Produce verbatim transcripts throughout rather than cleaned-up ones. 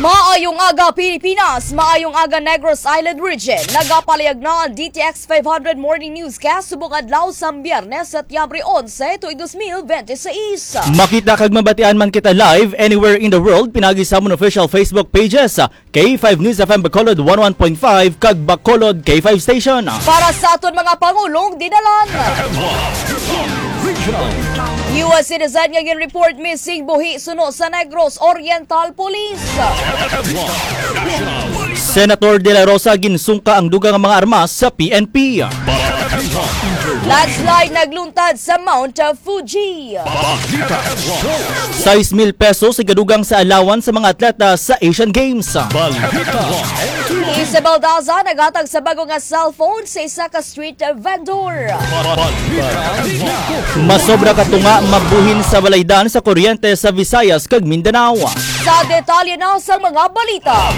Maayong aga, Pilipinas! Maayong aga, Negros Island Region! Nagapalayag na ang D T X five hundred Morning Newscast subong adlaw sa Biyernes, Setyembre onse, tuig dos mil bente seis. Makita kag mabatian man kita live anywhere in the world pinagi sa amon official Facebook pages, K five News F M Bacolod one oh one point five kag Bacolod K five Station. Para sa aton mga pangulong dinalan. U S citizen nga gin-report missing buhi suno sa Negros Oriental Police. Senator De La Rosa ginsungka ang dugang nga mga armas sa P N P. Landslide nagluntad sa Mount Fuji. Sais mil pesos ang kadugang sa allowance sa mga atleta sa Asian Games. Isabel Daza naghatag sa bago nga cellphone sa isa ka street vendor. Masobra ka tunga mabuhin sa balaydan sa kuryente sa Visayas kag Mindanao. Sa detalye na sa mga balita.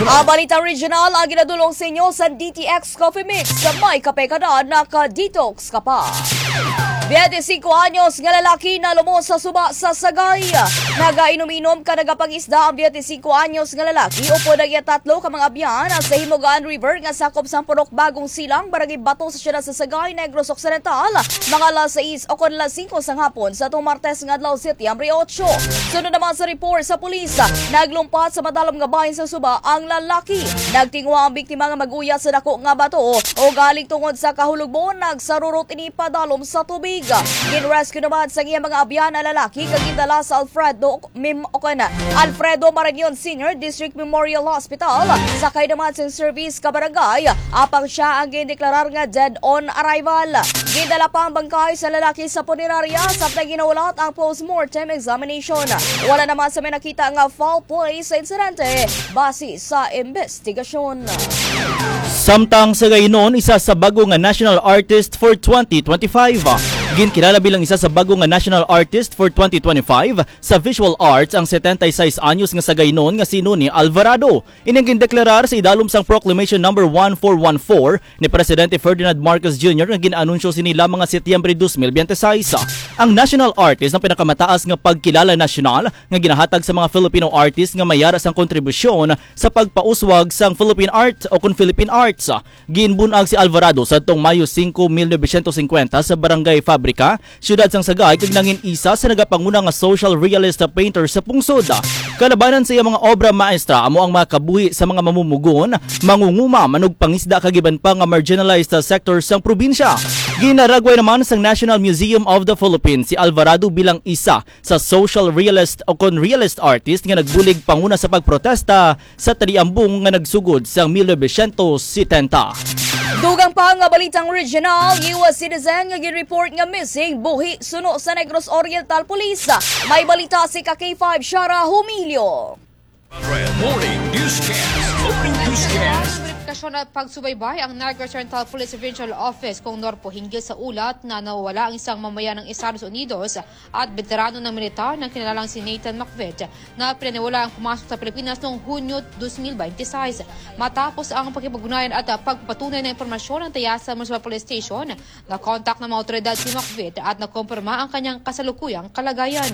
Ang Balitang Regional ang ginadulong sa inyo sa D T X Coffee Mix. May kape ka na, naka-detox ka pa. Biyente singko anyos nga lalaki nalumos sa suba sa Sagay. Nagainom-inom kag nagapangisda ang biyente singko anyos nga lalaki upod ang iya tatlo ka mga abyan sa Himugaan River nga sakop sang Purok Bagong Silang, Barangay Bato sa siyudad sa Sagay, Negros Occidental, mga alas sais o kon alas singko sang hapon sa atong Martes nga adlaw, Setyembre otso. Sunod naman sa report sa pulis, naglumpat sa madalom nga bahin sa suba ang lalaki. Nagtinguha ang biktima nga mag-uyat sa dako nga bato, ugaling tungod sa kahulugbo, nagsarurot ini padalom sa tubig. Gin-rescue naman sa iya mga abyan ang lalaki kag gindala sa Alfredo Mem-, o kon Alfredo Marañon Senior District Memorial Hospital. Sakay naman sa service ka barangay, apang siya ang gindeklarar nga dead on arrival. Gindala pa ang bangkay sa lalaki sa punerarya, samtang ginaulat ang postmortem examination. Wala naman sa may nakita nga foul play sa insidente, base sa investigasyon. Samtang sa gainon, isa sa bago nga national artist for twenty twenty-five. Ginkilala bilang isa sa bago nga national artist for twenty twenty-five sa visual arts ang setenta y seis anyos nga sagaynon nga si Noni Alvarado. Ini ang gindeklarar sa idalom sang Proclamation Number one four one four ni Presidente Ferdinand Marcos Junior nga gin-anunsyo sini lamang nga Setyembre dos mil biyente seis. Ang national artist ang pinakamataas nga pagkilala nasyonal nga ginahatag sa mga Filipino artist nga may yara sang kontribusyon sa pagpauswag sang Philippine art o kon Philippine arts. Ginbun-ag si Alvarado sadtong Mayo singko, mil novecientos singkwenta sa Barangay Fabrica, siyudad sang Sagay, kag nangin isa sa nagapanguna nga social realist painter sa pungsod. Kalabanan sa iya mga obra maestra amo ang mga kabuhi sa mga mamumugon, mangunguma, manugpangisda kag iban pa nga marginalized sector sang probinsya. Ginaragway naman sang National Museum of the Philippines si Alvarado bilang isa sa social realist o kon realist artist nga nagbulig panguna sa pagprotesta sa taliambong nga nagsugod sang mil novecientos setenta. Dugang pa nga balitang regional, U S citizen nga gin-report nga missing buhi suno sa Negros Oriental Police. May balita si ka K five Shara Humilio. Morning Newscast. Morning Newscast. Verifikasyon at pagsubaybay ang Negros Oriental Police Regional Office kung Norpo hinggil sa ulat na nawala ang isang mamaya ng Estados Unidos at veterano ng militar na kinilalang si Nathan Macvit na pinaniwala ang pumasok sa Pilipinas noong Hunyo dos mil bente seis. Matapos ang pakipag-ugnayan at pagpapatunay ng impormasyon ng Tayasan Municipal Police Station, nakontak ng mga awtoridad si Macvit at nakumpirma ang kanyang kasalukuyang kalagayan.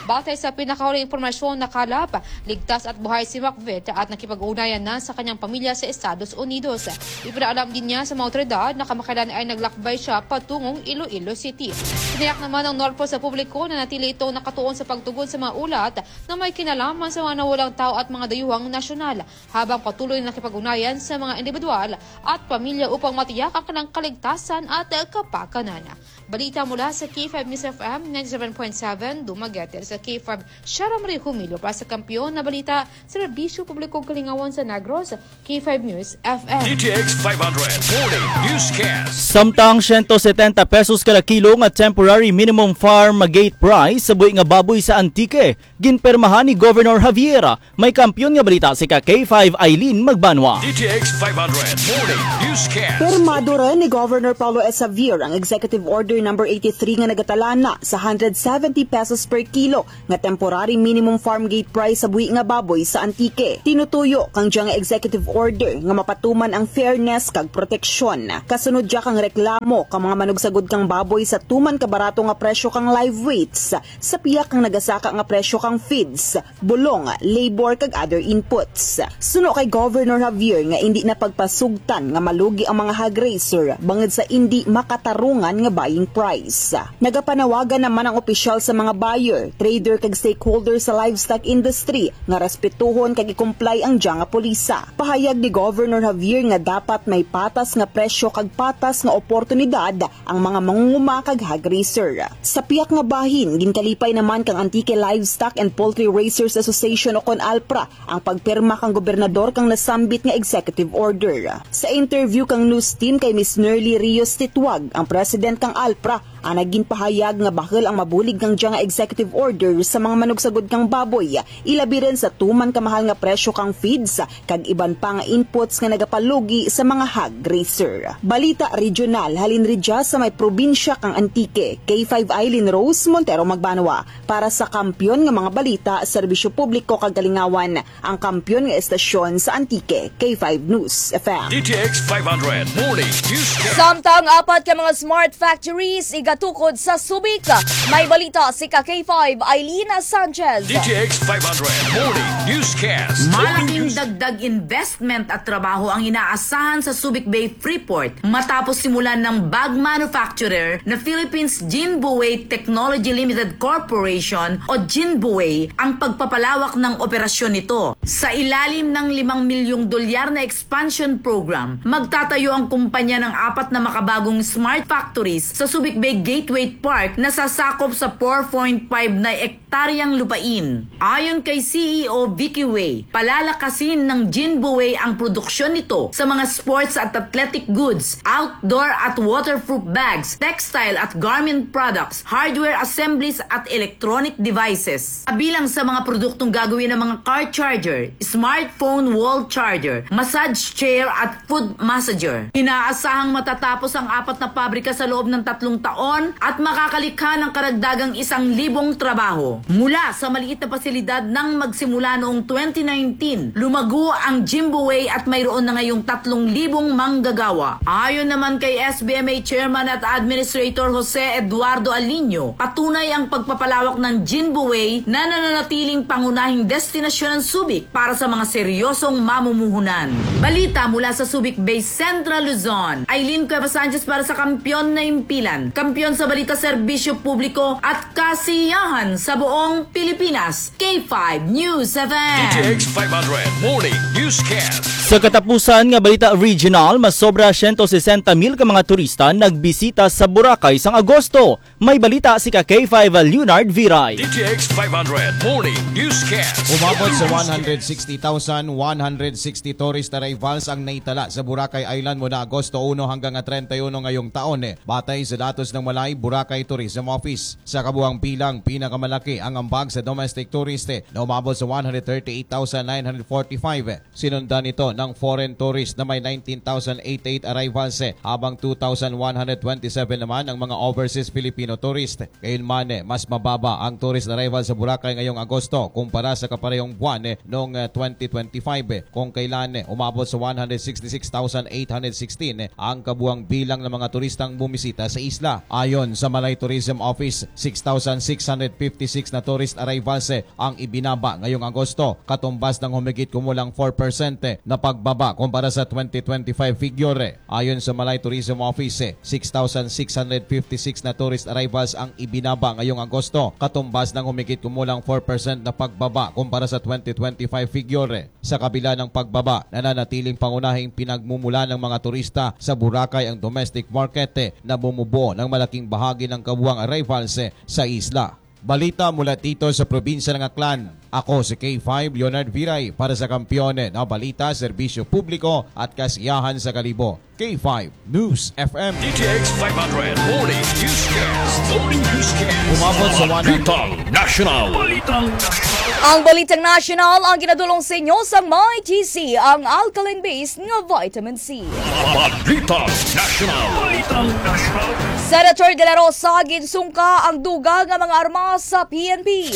Batay sa pinakahuling impormasyon, nakalap, ligtas at buhay si Macvit at nakipag-ugnayan na sa kanyang pamilya sa Estados Unidos. Ipinaalam din niya sa mga awtoridad na kamakailan ay naglakbay siya patungong Iloilo City. Tiniyak naman ng Norpo sa publiko na natili itong nakatuon sa pagtugon sa mga ulat na may kinalaman sa mga nawalang tao at mga dayuhang nasyonal, habang patuloy na nakipag-ugnayan sa mga individual at pamilya upang matiyak ang kanilang kaligtasan at kapakanan. Balita mula sa K five News F M ninety-seven point seven Dumaguete. Sa K five, Shara Marie Humilio para sa Kampiyon na Balita, Serbisyo Publiko Kalingawan sa Negros, K five News F M. D T X five hundred Morning Newscast. Samtang siyento setenta pesos kada kilo nga temporary minimum farm gate price sa buhi nga baboy sa Antique, ginpermahan ni Governor Javier. May kampiyon nga balita si ka K five Eileen Magbanwa. D T X five hundred Morning Newscast. Pirmado rin ni Governor Paulo S. Javier ang executive order number eighty-three nga nagatalana sa hundred seventy pesos per kilo nga temporary minimum farm gate price sa buhi nga baboy sa Antique. Tinutuyo kang dya nga executive order nga mapatuman ang fairness kag proteksyon. Kasunod dya kang reklamo kang mga manugsagod kang baboy sa tuman ka barato nga presyo kang live weights, sa pihak kang nagasaka nga presyo kang feeds, bulong, labor, kag other inputs. Suno kay Governor Javier nga indi na pagpasugtan nga malugi ang mga hog raiser bangod sa indi makatarungan nga buying price. Nagapanawagan naman ang opisyal sa mga buyer, trader, kag stakeholder sa livestock industry nga respetuhon kag i-comply ang dya nga polisa. Pahayag ni Governor Javier nga dapat may patas nga presyo kag patas nga oportunidad ang mga mangunguma kag hog raiser. Sa pihak nga bahin, ginkalipay naman kang Antique Livestock and Poultry Raisers Association o kon ALPRA ang pagpirma kang gobernador kang nasambit nga executive order. Sa interview kang news team kay Miss Nerly Rios Titwag, ang president kang ALPRA, ang nagin pahayag nga bahul ang mabulig kang dya nga executive order sa mga manugsagod kang baboy, ilabi rin sa tuman ka mahal nga presyo kang feeds kag iban pa nga inputs nga nagapalugi sa mga hog raiser. Balita regional halin ridya sa may probinsya kang Antique, K five Eileen Rose Montero Magbanwa para sa Kampiyon nga mga Balita, Serbisyo Publiko kag Kalingawan, ang kampiyon nga estasyon sa Antique, K five News F M. D T X five hundred Morning Newscast. Samtang apat ka mga smart factories igatukod sa Subic, may balita si ka K five Eileen Sanchez. D T X five hundred Morning Newscast. Malaking dagdag investment at trabaho ang inaasahan sa Subic Bay Freeport matapos simulan ng bag manufacturer na Philippines Jinbue Technology Limited Corporation o Jinbue ang pagpapalawak ng operasyon nito. Sa ilalim ng limang milyong dolyar na expansion program, magtatayo ang kumpanya ng apat na makabagong smart factories sa Subic Bay Gateway Park na sasakop sa four point five na hektaryang lupain. Ayon kay C E O Vicky Way, palalakasin ng Jinbue ang produksyon nito sa mga sports at athletic goods, outdoor at waterproof bags, textile at garment products, hardware assemblies at electronic devices. Kabilang sa mga produktong gagawin ang mga car charger, smartphone wall charger, massage chair at food massager. Inaasahang matatapos ang apat na pabrika sa loob ng tatlong taon at makakalikha ng karagdagang isang libong trabaho. Mula sa maliit na pasilidad nang magsimula noong twenty nineteen, lumago ang Jimboway at mayroon na ngayong tatlong libong manggagawa. Ayon naman kay S B M A Chairman at Administrator Jose Eduardo Aliño, patunay ang pagpapalawak ng Jimboway na nananatiling pangunahing destinasyon ng Subic para sa mga seryosong mamumuhunan. Balita mula sa Subic Bay, Central Luzon. Aileen Cuevas Sanchez para sa Kampiyon na Impilan. Kampiyon sa balita, serbisyo publiko at kasiyahan sa buong Pilipinas. K five News F M. D T X five hundred Morning Newscast. Sa katapusan nga balita regional, masobra siyento sesenta mil ka mga turista nagbisita sa Boracay sang Agosto. May balita si ka K five Leonard Viray. D T X five hundred Morning Newscast. Umabot sa one hundred sixty thousand one hundred sixty tourist arrivals ang naitala sa Boracay Island mula Agosto uno hanggang treinta y uno ngayong taon, eh, batay sa datos ng Malay Boracay Tourism Office. Sa kabuang bilang, pinakamalaki ang ambag sa domestic tourist, eh, na umabot sa one hundred thirty-eight thousand nine hundred forty-five. Sinundan ito ng foreign tourist na may nineteen thousand eighty-eight arrivals, eh, habang two thousand one hundred twenty-seven naman ang mga overseas Filipino tourist. Gayunman, eh, mas mababa ang tourist arrival sa Boracay ngayong Agosto kumpara sa kaparehong buwan, eh, noong, eh, twenty twenty-five, eh, kung kailan, eh, umabot sa one hundred sixty-six thousand eight hundred sixteen, eh, ang kabuang bilang ng mga turistang bumisita sa isla. Ayon sa Malay Tourism Office, six thousand six hundred fifty-six na tourist arrivals, eh, ang ibinaba ngayong Agosto, katumbas ng humigit kumulang four percent na pagbaba kumpara sa twenty twenty-five figure. Ayon sa Malay Tourism Office, six thousand six hundred fifty-six na tourist arrivals ang ibinaba ngayong Agosto, katumbas ng humigit kumulang four percent na pagbaba kumpara sa twenty twenty-five figure. Sa kabila ng pagbaba, nananatiling pangunahing pinagmumula ng mga turista sa Boracay ang domestic market, na bumubuo ng malaking bahagi ng kabuang arrivals sa isla. Balita mula dito sa probinsya ng Aklan. Ako si K five Leonard Viray para sa Kampiyon na Balita, Serbisyo Publiko at Kasiyahan sa Kalibo. K five News F M. D T X five hundred Morning Newscast. Morning Newscast. Umabot sa one hundred. Balitang National. Balitang National. Ang balitang nasyonal ang ginadulong sa inyo sang My G C, ang alkaline base nga vitamin C. Balitang Nasyonal. Balitang Nasyonal. Senator De La Rosa ginsungka ang dugang nga mga armas sa P N P.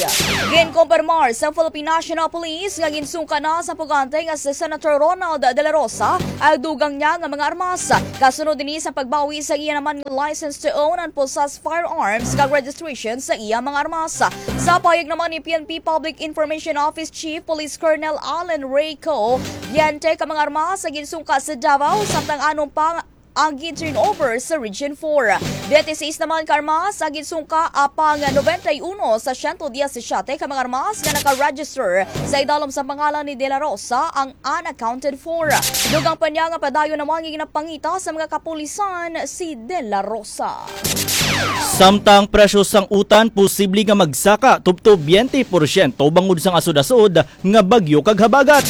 Ginkumpirmar sa Philippine National Police nga ginsungka na sa pugante nga si Senator Ronald De La Rosa ang dugang niya nga mga armas. Kasunod ini sa pagbawi sa iya naman nga license to own and possess firearms kag registration sa iya mga armas. Sa pahayag naman ni P N P Public Information Office Chief Police Colonel Allen Ray Co Viente ka mga armas sa ginsungka sa Davao, samtang anom pa ang gin-turnover sa Region four. Twenty-six naman ka armas ang ginsungka, apang noventa y uno sa siyento diyesisiyete ka mga armas nga naka-register sa idalom sa pangalan ni De La Rosa ang unaccounted for. Dugang pa niya nga padayon naman nga ginapangita sa mga kapulisan si De La Rosa. Samtang presyo sang utan posible nga magsaka tubtob twenty porsyento bangod sang asod-asod nga bagyo kag habagat.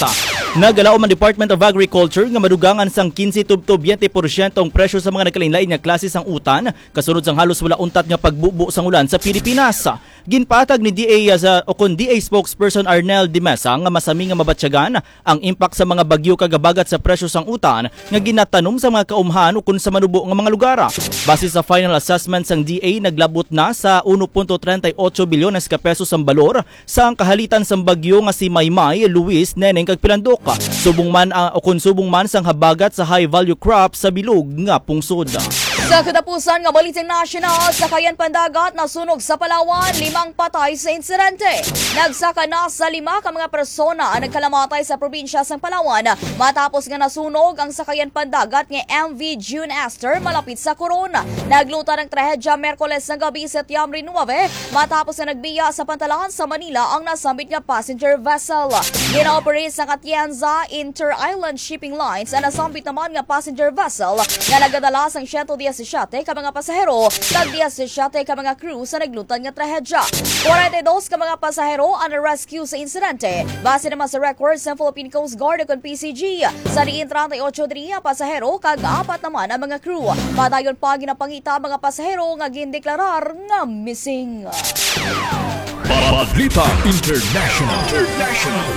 Nagalaom ang Department of Agriculture nga madugangan sang quince tubtob twenty porsyento ang presyo sa mga nagkalainlain nga klase sang utan, kasunod sang halos wala untat nga pagbubo sang ulan sa Pilipinas. Ginpatag ni D A sa, o kon D A spokesperson Arnel de Mesa nga masami nga mabatyagan ang impact sa mga bagyo kag habagat sa presyo sang utan nga ginatanom sa mga kaumhan ukon sa manubo nga mga lugar. Base sa final assessment sang D A, naglabot na sa uno punto treinta y ocho bilyones ka pesos ang balor sang kahalitan sang bagyo nga si Maymay, Luis, Neneng kag Pilandok. Subong man, ah, o kon subong man sang habagat sa high value crop sa bilog nga pungsod. Sa katapusan nga balitang nasyonal, sakayan pandagat nasunog sa Palawan, limang patay sa insidente. Nagsaka na sa lima ka mga persona ang nagkalamatay sa probinsya sang Palawan matapos nga nasunog ang sakayan pandagat nga M V June Esther malapit sa Coron. Naglutad ang trahedya Miyerkules nga gabi, Setyembre nuebe, matapos nga nagbiya sa pantalan sa Manila ang nasambit nga passenger vessel. Gina-operate sang Atienza Inter-Island Shipping Lines ang nasambit naman nga passenger vessel nga nagadala sang siyento diyesisiyete ka mga pasahero kag diyesisiyete ka mga crew sa naglutad nga trahedya. Kwarenta y dos ka mga pasahero ang na-rescue sa insidente, base naman sa records sa Philippine Coast Guard ukon P C G. Sa diin treinta y ocho diri ang pasahero kag apat naman ang mga crew. Padayon pa ginapangita ang mga pasahero nga gindeklarar nga missing. Balita International. International.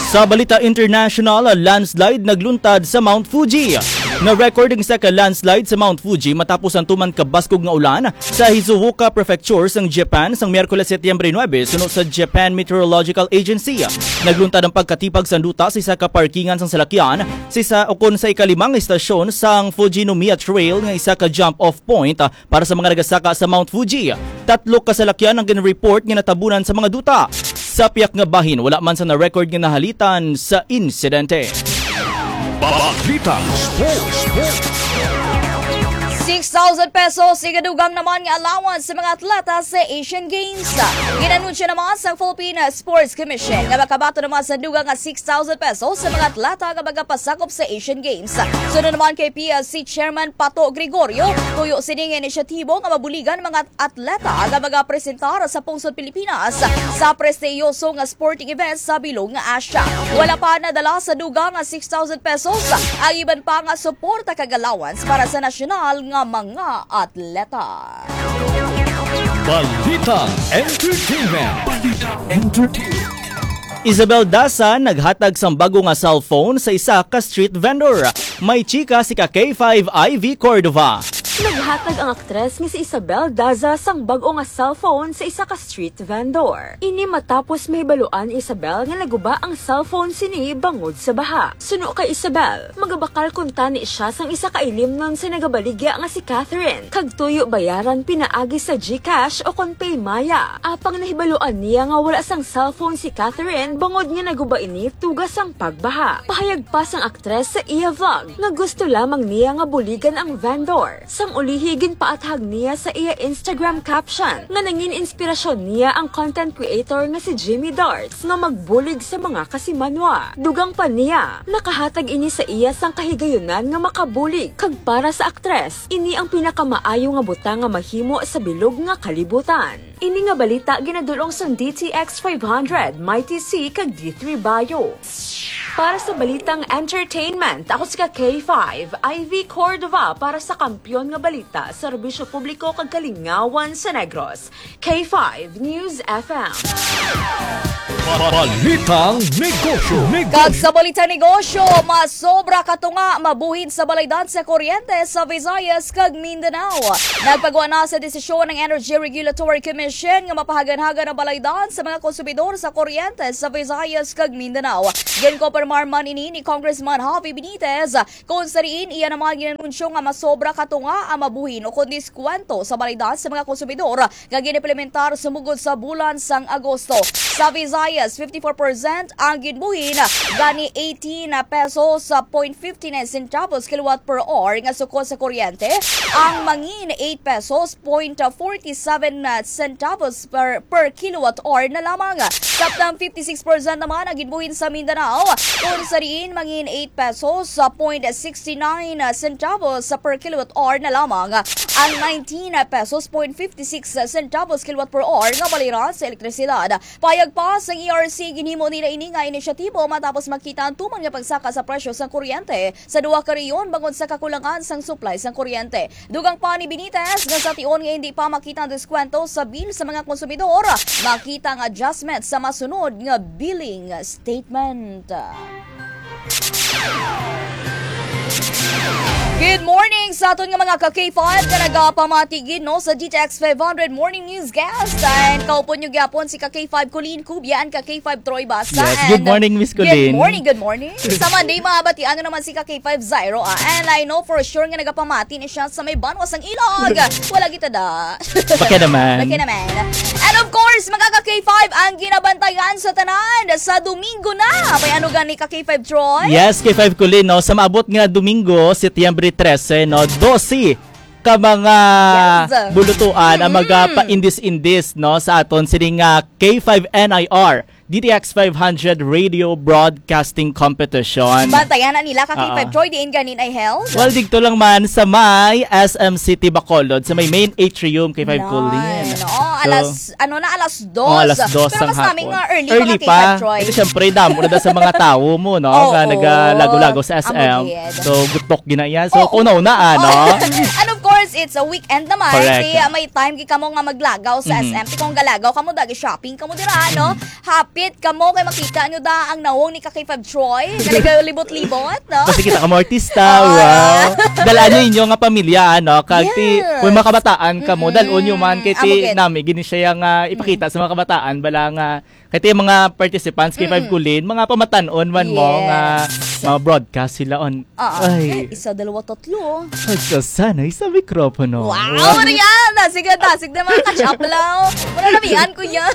Sa balita international, landslide nagluntad sa Mount Fuji. Na-record ang isa ka landslide sa Mount Fuji matapos ang tuman ka baskog nga ulan sa Shizuoka Prefecture sang Japan sang Miyerkules, Setyembre nuebe, suno sa Japan Meteorological Agency. Nagluntad ang pagkatipag sang duta sa isa ka parkingan sang salakyan sa isa, o kon sa ikalimang istasyon sang Fujinomiya Trail nga isa ka jump-off point, ah, para sa mga nagasaka sa Mount Fuji. Tatlo ka salakyan ang gin-report nga natabunan sa mga duta. Sa piyak nga bahin, wala man sa na-record nga nahalitan sa insidente. Balitang Sports. Six thousand pesos igadugang naman nga allowance sa mga atleta sa Asian Games. Ginanunsyo naman sa Philippine Sports Commission nga makabaton naman sa dugang nga six thousand pesos sa mga atleta nga magapasakop sa Asian Games. Sunod naman kay P S C Chairman Pato Gregorio, tuyo sini nga inisyatibo nga mabuligan mga atleta nga magapresentar sa pungsod Pilipinas sa prestihiyoso nga sporting event sa bilog nga Asia. Wala pa nadala sa dugang nga six thousand pesos ang iban pa nga suporta kag allowance para sa nasyonal nga mga atleta. Balitang Entertainment. Balitang Entertainment. Isabel Daza naghatag sang bago nga cellphone sa isa ka street vendor. May chika si ka K five Ivy Cordova. Naghatag ang aktres nga si Isabel Daza sang bag-o nga cellphone sa isa ka street vendor. Ini matapos mahibaluan ni Isabel nga naguba ang cellphone sini bangod sa baha. Suno kay Isabel, magabakal kuntani siya sang isa ka ilimnon sa nagabaligya nga si Catherine, kag tuyo bayaran pinaagi sa GCash o kon PayMaya. Apang nahibaluan niya nga wala sang cellphone si Catherine bangod nga naguba ini tuga sang pagbaha. Pahayag pa sang aktres sa iya vlog nga gusto lamang niya nga buligan ang vendor. Sang ulihi, ginpaathag niya sa iya Instagram caption nga nangin inspirasyon niya ang content creator nga si Jimmy Darts nga magbulig sa mga kasimanwa. Dugang pa niya, nakahatag ini sa iya sang kahigayunan nga makabulig, kag para sa aktres, ini ang pinakamaayo nga butang nga mahimo sa bilog nga kalibutan. Ini nga balita ginadul-ong sang D T X five hundred, Mighty C, kag D three Bio. Para sa balitang entertainment, ako si ka K five, Ivy Cordova, para sa Kampiyon nga Balita, Serbisyo Publiko kag Kalingawan sa Negros. K five News F M. Balitang Negosyo. Kag sa balitang negosyo, masobra ka tunga mabuhin sa balaydan sa kuryente sa Visayas kag Mindanao. Nagpagwa na sa desisyon ang Energy Regulatory Commission nga mapahagan-hagan ang balaydan sa mga konsumidor sa kuryente sa Visayas kag Mindanao. Ginkonpirmar man ini ni Congressman Javi Benitez, kung sa diin iya naman ginanunsyo nga masobra ka tunga ang mabuhin o kon diskwento sa balaydan sa mga konsumidor nga ginimplementar sumugod sa bulan sang Agosto. Sa Visayas, fifty-four percent ang ginbuhin, gani eighteen pesos point fifty-nine centavos kilowatt per hour nga suko sa kuryente, ang mangin eight pesos point forty-seven centavos per, per kilowatt hour na lamang. Samtang fifty-six percent naman ang ginbuhin sa Mindanao, kung sa diin mangin eight pesos point sixty-nine centavos per kilowatt hour na lamang ang nineteen pesos point fifty-six centavos kilowatt per hour nga balayran sa elektrisidad. Payag pa sang E R C, ginhimo nila ini nga inisyatibo matapos makita ang tuman nga pagsaka sa presyo sang kuryente sa duha ka rehiyon bangod sa kakulangan sang supply sang kuryente. Dugang pa ni Benitez nga sa tion nga hindi pa makita ang diskwento sa bill sa mga konsumidor, makita ang adjustment sa masunod nga billing statement. Good morning sa aton nga mga ka K five nga nagapamati gid, no, sa D T X five hundred Morning Newscast. And kaupod nyo gyapon si ka K five Colleen Cubia and ka K five Troy Basa. Yes, good And, uh, morning, Miss Good Colleen. morning, good morning. Sa Monday, mabatian na naman si ka K five Zairo, ah. And I know for sure nga nagapamati ni siya sa may banwa sang ilog. Wala kita da. Baka naman. Baka naman. And of course, mga ka K five, ang ginabantayan sa tanan sa Domingo na. May ano gani ka K five, Troy? Yes, K five Colleen, no? Sa maabot nga Domingo, Setyembre trese, no? Dose ka mga Yes. bulutuan ang Mm-mm. magapa-indis-indis, no, sa aton sining, ah, K five N I R, D T X five hundred Radio Broadcasting Competition. Bantayan na nila ka K five Oo. Troy, diin ganin ay held? Well, dito lang man sa may S M City Bacolod, sa may main atrium, K five Colleen. Nine. Oh, So, alas, ano na, alas dos. oh, alas dos Pero ang mas namin hapon. nga early, Early mga K five pa. Troy. Ito, syempre, damo na daw sa mga tawo mo, no? Oo. Nga nagalago-lago sa S M. Amo gid. So, gutok ginaya. So, Oo. una-una, ano? And of course, it's a weekend naman. Correct. Kaya may time gid kamo nga maglagaw sa Mhm. S M. Kung galagaw kamo, dagi shopping kamo dira, no? Mhm. Hapit kamo kay makita nyo da ang nawong ni ka K five Troy. Talaga libot-libot, no? Basta kita ka mo artista, Ah. wow. Dalaan nyo inyo nga pamilya, ano? Kag ti, Yes. kung makabataan kamo, Mm-mm. dal-on nyo man, kay Amo ti gid. nami, gini siya nga ipakita Mm. sa mga kabataan, bala nga, kay ti mga participants, kay Five Mm-mm. Kulin, mga pamatan-on man mo, Yes. nga, mga broadcast sila on. Ah, Ay. isa, dalawa, tatlo. Ay, sa sanay sa mikropono. Wow, Rihanna! Sige, dasig na mga catch up lang. Wala na, mian ko yan.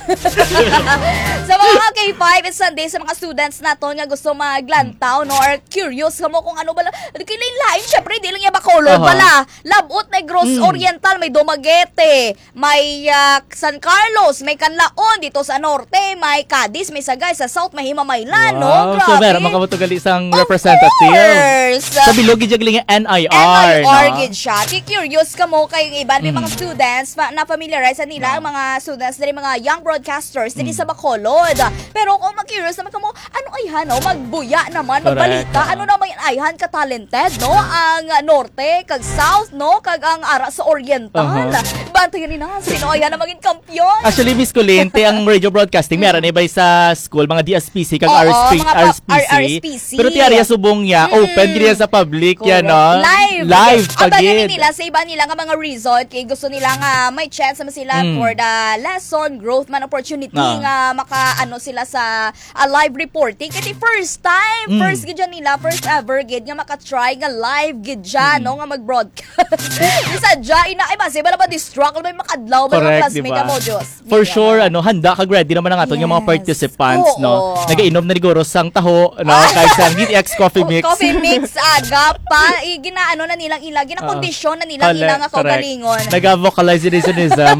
Sa mga K five, it's Sunday sa mga students naton nga gusto maglantaw, no? Or curious kamo kung ano bala. Kilain-lain, syempre, di lang yan Bacolod Aha. bala. Labot, Negros Mm. Oriental, may Dumaguete, may, ah, San Carlos, may Canlaon, dito sa Norte, may Cadiz, may Sagay, sa South, may Himamaylan, no? Wow. So, Grabe. meron man kamo to gali sang Of representative. course. Sa bilog, gid galing ang N I R, N I R no? gid siya. Ti curious kamo kay yung iban, may mga Mm. students, ma-, na-familiarize sa nila, No. ang mga students, dali mga young broadcasters, dali Mm. sa Bacolod. Pero kung mag-curious naman kamo, ano ay han, no? Magbuya naman, Correct. magbalita. Ano naman ay han ka-talented, no? Ang Norte, kag South, no? Kag ang ara sa Oriental. Uh-huh. Bantayan ni na, sino ay han ang maging kampiyon? Actually, Miss Colleen, ti ang radio broadcasting, meron Mm. na iba sa school, mga D S P C, kag Oo, R S P, mga pa-, R S P C. R S P C. Pero ti area subong niya, Mm-mm. open gid sa public, yan, Correct. no? Live. Live pa Abangan gid. nila sa iba nila nga mga resort, kay gusto nila nga may chance naman sila Mm. for the lesson, growth man opportunity, Ah. nga maka, ano, sila sa, ah, live reporting. Kay first time, Mm. first gid yan nila, first ever gid nga maka-try nga live gid dyan, Mm. no, nga mag-broadcast. Di sadya, ina, ay, basi, bala ba distract, may makadlaw, may mga Correct, classmate di ba? mo, Diyos. For Di sure, ba? ano, handa kag ready naman ang aton nga mga Yes. participants, no? Oo. Nagainom na ni Guro sang taho, no? Ah. Kag sang D T X Coffee Oh, Mix. Coffee Mix, aga pa. I, ginaano na nilang ila, ginakondisyon na nilang Correct, ila nga correct. kaugalingon. Naga-vocalize ni Sunism.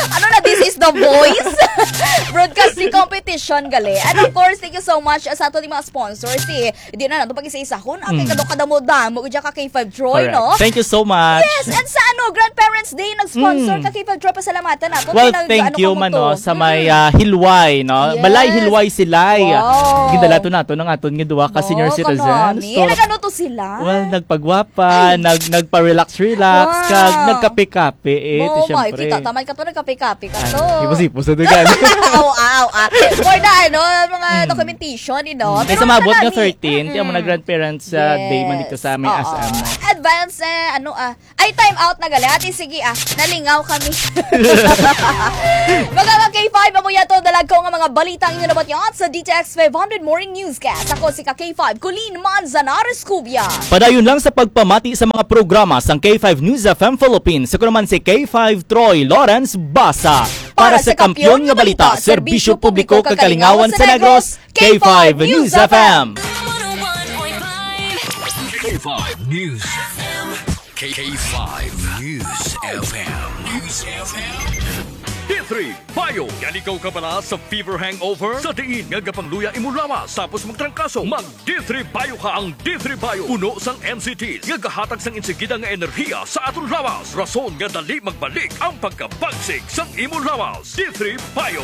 Ano na, this is the voice? Broadcast Di competition gali. And of course, thank you so much sa ato ni mga sponsors. Si, di na nato pag-isa-isahon. Ang kay Mm. kadamo-damo, diya ka K five Troy, Correct. no? Thank you so much. Yes, and sa ano, Grandparents Day, nag-sponsor Mm. ka K five Troy, pasalamatan nato. Well, Pinag-, thank ano you, ka mo Mano, to? sa may, Mm. ah, Hilway, no? Yes. Balay Hilway Silay. Wow. Gindala to nato ng aton nga duha ka No, senior citizens. Kanani? So, Nag-ano to sila? well, nagpagwapa, Ay. nag-, nagpa-relax-relax, Wow. kag nagkape-kape, eh, Oh, ti my, syempre. kita, tamay ka to, nagkape-kape ka Ay, to. hipos-hipos na to, gan. Aw, aw, ah. For the, ano, mga Mm. documentation, you know. Mm. Pero Kaysa maabot nga kanani, thirteen, kaya mo na mm-mm. grandparents, ah, day man dito Yes. sa may Oo. S M. Advance, eh, ano, ah, ay, time out na gali. Ate, sige, ah, nalingaw kami. Mga ka K five, amo yato, dalag ko nga mga balita ang inyo nabatyan sa D T X five hundred Morning Newscast. Ako si ka K five, Colleen Manzanares Cubia. Padayon lang sa pagpamati sa mga programa sang K five News F M Philippines. Ako naman si K five Troy Lawrence Basa. Para Para sa sa kampiyon kampiyon nga nga balita, balita, serbisyo serbisyo publiko publiko kag kag kalingawan kalingawan sa sa Negros, Negros, K five News F M. K five News F M. K five News F M. K five News F M. News F M. D three Bio. Yan ikaw kabala sa fever hangover? Sa diin nga gapangluya imo lawas tapos magtrangkaso, mag D three Bio ka. Ang D three Bio puno sang N C Ts nga gahatag sang insigida nga enerhiya sa aton lawas, rason nga dali magbalik ang pagkabagsik sang imo lawas. D three Bio.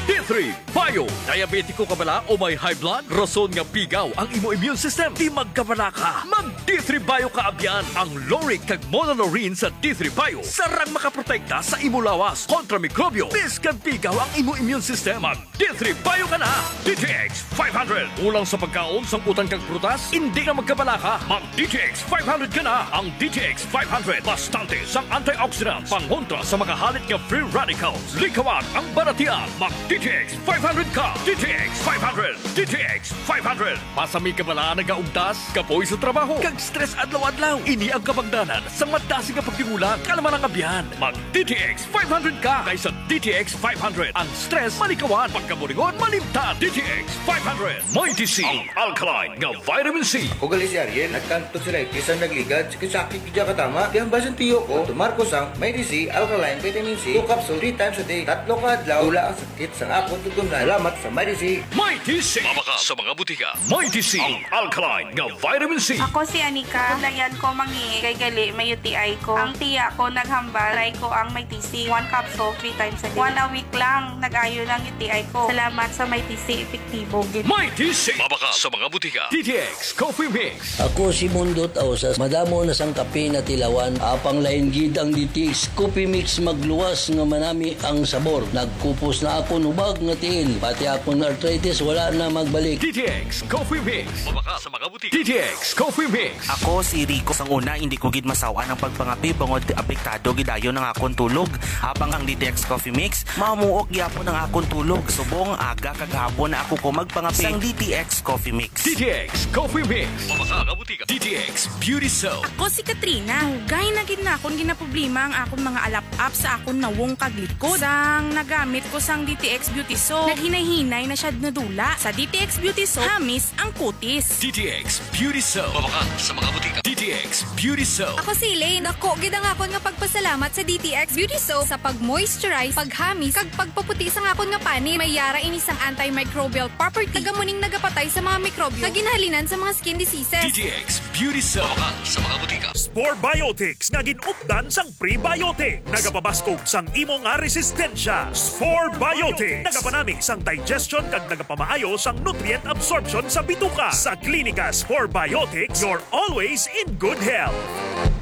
D three Bio. Diabetiko ka bala o may high blood? Rason nga pigaw ang imo immune system. Di magkabala ka. Mag D three Bio ka abyan. Ang lauric kag monolaurin sa D three Bio sarang makaprotekta sa imo lawas kontra mikrobyo. Bisan pigaw ang imo immune system, mag D three Bio ka na. D T X five hundred. Kulang sa pagkaon sang utan kag prutas? Hindi na magkabala ka. Mag D T X five hundred ka na. Ang D T X five hundred, bastante sang antioxidants, pangontra sa mga halit nga free radicals. Likawan ang balatian. Mag D T X five hundred ka. D T X five hundred. D T X five hundred. Basi may kabala, nagaugtas, kapoy sa trabaho, kag stress adlaw-adlaw. Ini ang kabangdanan sang madasig nga pagdingulan, kalma lang abyan. Mag D T X five hundred ka, kay sa D T X five hundred, ang stress malikawan, pagkaburingon malimtan. D T X five hundred. Mighty C, ang alkaline nga vitamin C. Ako gali si Ariel, nagkanto sila, bisan nagligad, sakit-sakit gid ka tama. Kaya ang basin tiyo ko, tumar ko sang Mighty C, alkaline vitamin C, two capsule, three times a day. Tatlo ka adlaw, wala ang sakit sang akon tugon na. Salamat sa Mighty C. Mighty C. Mabakal sa mga butika. Mighty C, ang alkaline nga vitamin C. Ako si Anika. Paglayan ko mangihi kay gali may U T I ko. Ang tiya ko naghambal, try ko ang Mighty C. One capsule, three times a day. One a week lang, nag-ayo lang U T I ko. Salamat sa Mighty C, epektibo gid. Mighty C. Mabakal sa mga butika. D T X Coffee Mix. Ako si Mundo Tausas. Madamo na sang kape natilawan. Apang lain gid ang D T X Coffee Mix, magluwas nga manami ang sabor. Nagkupos na akon hubag nga tiil. Pati akon arthritis wala na magbalik. D T X Coffee Mix. Mabakal sa mga butika. D T X Coffee Mix. Ako si Rico. Sang una, hindi ko gid masaw-an ang pagpangape bangod apektado gid dayon ang akon tulog. Apang ang D T X Coffee Mix, mamuok gyapon ang akon tulog. Subong aga kag hapon na ako ko magpangape. Sang D T X Coffee Mix. D T X Coffee Mix. Mabakal sa mga butika. D T X Beauty Soap. Ako si Katrina. Dugay na gid na akon ginaproblema ang akon mga alap-ap sa akon nawong kag likod. Sang nagamit ko sang D T X Beauty Soap, naghinay-hinay na siya nadula. Sa D T X Beauty Soap, hamis ang kutis. D T X Beauty Soap. Mabakal sa mga butika. D T X Beauty Soap. Ako si Elaine. Dako gid ang akon nga pagpasalamat sa D T X Beauty Soap sa pag-moisturize, paghamis, kag pagpaputi sang akon nga panit. May yara ini sang antimicrobial property. Taga muning nagapatay sa mga mikrobyo nga ginhalinan sa mga skin diseases. D T X Beauty Soap. Mabakal sa mga butika. Spore Biotics nga gin-updan sang prebiotic. Nagapabaskog sang imo nga resistensya. Spore Biotics. Nagapanami sang digestion kag nagapamaayo sang nutrient absorption sa bituka. Sa Klinika Spore Biotics, you're always in good health.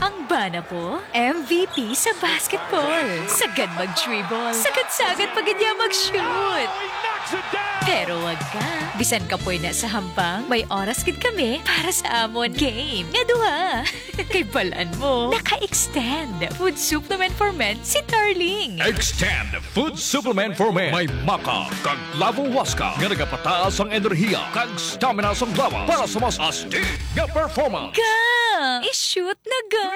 Ang bana ko, M V P sa basketball. Sagad mag-dribble. Sagad-sagad pa gid niya mag-shoot. Pero wag ka. Bisan kapoy na sa hampang, may oras gid kami para sa amon game nga duha. Kay balan mo, naka-extend food supplement for men si Darling. Extend food supplement for men. May maca kag lavo huasca nga nagapataas ang enerhiya kag stamina sang lawas para sa mas astig nga performance. Ga! I-shoot na ga!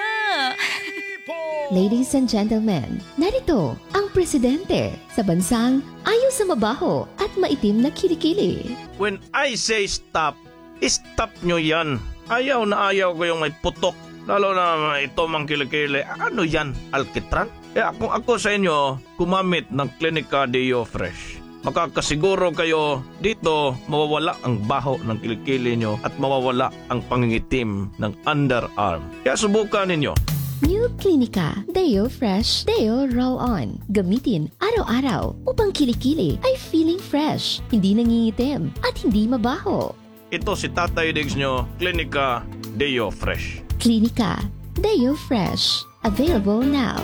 Ladies and gentlemen, narito ang presidente sa bansang ayo sa mabaho at maitim na kilikili. When I say stop, stop nyo yan. Ayaw na ayaw ko yung may putok. Lalo na ito mang kilikili. Ano yan? Alkitran? Kaya kung ako sa inyo, gumamit ng Clinica Deo Fresh. Makakasiguro kayo dito mawawala ang baho ng kilikili nyo at mawawala ang pangingitim ng underarm. Kaya subukan ninyo. New Clinica Deo Fresh Deo Roll On. Gamitin araw-araw upang kilikili ay feeling fresh, hindi nangingitim, at hindi mabaho. Ito si Tatay Diggs nyo, Klinika Deo Fresh. Klinika Deo Fresh. Available now.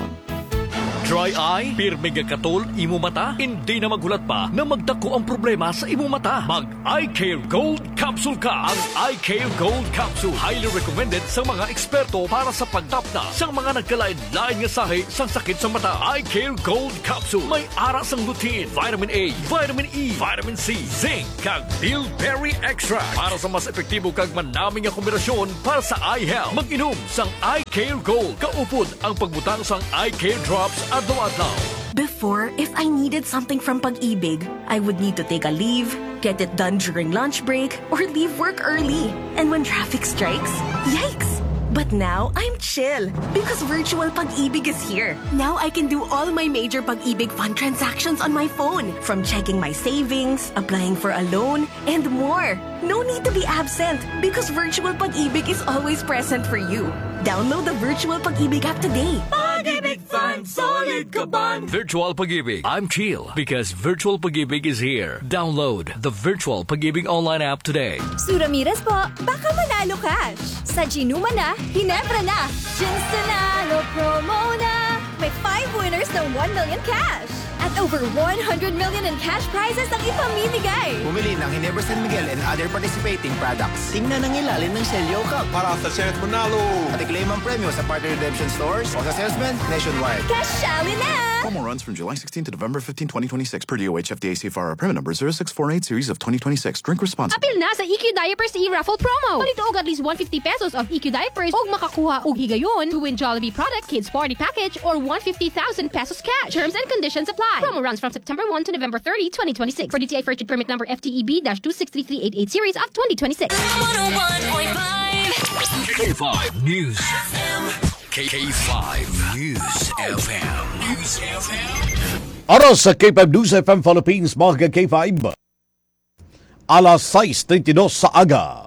Dry eye? Pirmi nga katol imo mata? Hindi na maghulat pa na magdako ang problema sa imo mata. Mag Eye Care Gold Capsule ka. Ang Eye Care Gold Capsule highly recommended sa mga eksperto para sa pagtapna sa mga nagkalain-lain nga sahi sang sakit sa mata. Eye Care Gold Capsule may ara sang lutein, vitamin A, vitamin E, vitamin C, zinc, kag bilberry extract para sa mas epektibo kag manami nga kombinasyon para sa eye health. Mag-inom sang Eye Care Gold. Kaupod ang pagbutang sang Eye Care Drops adlaw-adlaw. Before, if I needed something from Pag-ibig, I would need to take a leave, get it done during lunch break, or leave work early. And when traffic strikes, yikes! But now, I'm chill because Virtual Pag-ibig is here. Now I can do all my major Pag-ibig fund transactions on my phone, from checking my savings, applying for a loan, and more. No need to be absent because Virtual Pag-ibig is always present for you. Download the Virtual Pag-ibig app today. Pag-ibig Fund, solid ka bond. Virtual Pag-ibig. I'm chill because Virtual Pag-ibig is here. Download the Virtual Pag-ibig online app today. Sue Ramirez po, baka manalo cash. Sa Ginuma na, Ginebra na. Ginsunalo promo na. May five winners ng one million cash. At over one hundred million in cash prizes ang ipamimigay. Bumili ng Ginebra San Miguel and other participating products. Tingnan ang ilalim ng selyo, kag para sa chance manalo, at i-claim ang premyo sa partner redemption stores o sa salesman nationwide. Kasyali na! Promo runs from July sixteen to November fifteen, twenty twenty-six, per D O H F D A C F R, permit number zero six four eight series of twenty twenty-six. Drink responsibly. Apil na sa E Q Diapers e-raffle promo. Palito og at least one fifty pesos of E Q Diapers ug makakuha og higayon to win Jollibee product, kids party package, or one fifty thousand pesos cash. Terms and conditions apply. Promo runs from September one to November thirty, twenty twenty-six. For D T I purchase permit number F T E B dash two six three three eight eight series of twenty twenty-six. one oh one point five K five News. K K five News F M. News F M. Oras sa K five News F M Philippines, mga ka-K five. Alas sais treinta y dos sa aga.